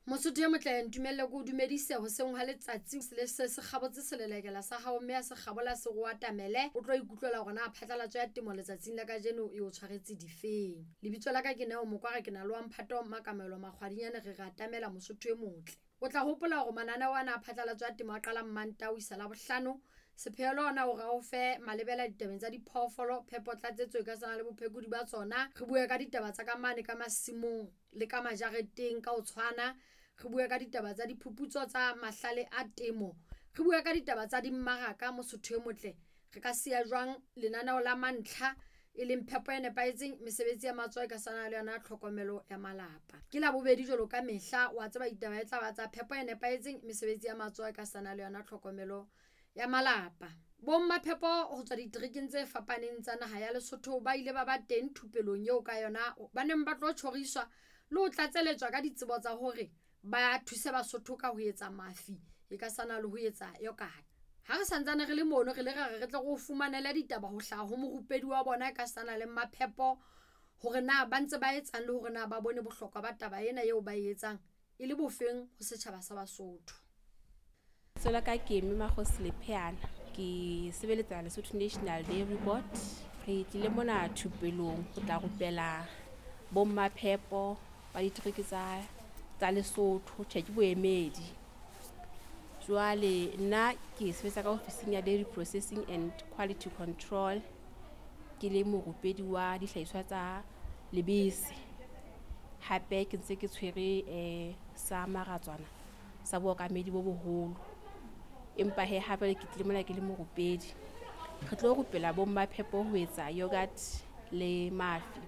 Mosotho e motle, ntumelle ke o dumedise hoseng ha letsatsi le se se kgabotse selelekela sa hao, mme a se kgabola se go atamele, o tlo ikutlwela hore na phatlalatso ya temo letsatsing la kajeno e o tshwaretse difeng. Lebitso la ka ke Neo Mokwara, ke na le wa mphato Makamelo Makgwadinyane, re re atamela Mosotho e motle. O tla hopola hore mananeo ana a phatlalatso ya temo a qala Mmantaha ho isa Labohlano. Sepheo le ona hore a o fe malebela ditabeng tsa diphoofolo, phepo, tlatsetso e ka sana le bophekodi ba tsona. Re bue ka ditaba tsa ka mane ka masimong le ka majareteng ka ho tshwana. Re bue ka ditaba tsa diphuputso tsa mahlale a temo. Re bue ka ditaba tsa dimmaraka. Mosotho e motle, re ka siya jwang lenaneo la mantlha e leng phepo e nepahetseng, mesebetsi ya matsoho e ka sana le yona tlhokomelo ya malapa. Ke Labobedi jwalo ka mehla, wa tseba ditaba e tla ba tsa phepo e nepahetseng, mesebetsi ya matsoho e ka sana le yona tlhokomelo ya malapa. Bomma phepo ho tswa diterekeng tse fapaneng tsa naha ya Lesotho ba ile ba ba teng thupelong eo ka yona ba neng ba tlo tjhoriswa le ho tlatseletswa ka ditsebo tsa hore ba thuse Basotho ka ho etsa mafi e ka sana le ho etsa yogurt. Ha re santsane re le mono, re le ra re re tle re o fumanele ditaba ho hlaha ho morupedi wa bona e ka sana le maphepo, hore na ba ntse ba etsang le hore na ba bone bohlokwa ba taba ena eo ba e etsang e le bofeng ho setjhaba sa Basotho. Lebitso la ka ke Mme Makgosi Lepheana, ke sebeletsa Lesotho National Dairy Board. Re tlile mona thupelong ho tla rupela bomma phepo ba ditereke tsa Lesotho, tjhe ke boemedi. Jwale nna ke sebetsa ka ofising ya Dairy Processing and Quality Control, ke le morupedi wa dihlahiswa tsa lebese. Hape ke ntse ke tshwere sa maratswana sa bookamedi bo boholo. Empa he ha jwale ke tlile mona ke le morupedi. Re tlo rupela bomma phepo ho etsa yogurt le mafi.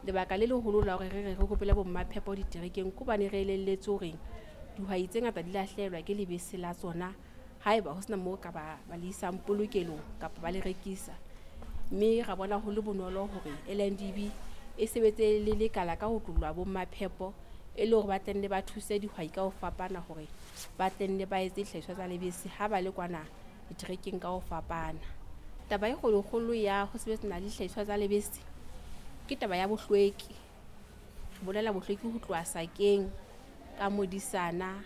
Lebaka le leholo la hore re re re rupele bomma phepo diterekeng ke hobane re elelletswe hore dihwai tse ngata di lahlehelwa ke lebese la tsona haeba ho sena moo ka ba le isang polokelong kapa ba le rekisa. Mme ra bona ho le bonolo hore LNDB e sebetse le lekala ka ho tlola bomma phepo e le hore ba tlenne ba thuse dihwai ka ho fapana hore ba tlenne ba etse dihlahiswa tsa lebese ha ba le kwana diterekeng ka ho fapana. Taba e kgolokgolo ya ho sebetsana le dihlahiswa tsa lebese ke taba ya bohlweki. Re bolela bohlweki ho tloha sakeng ka modisana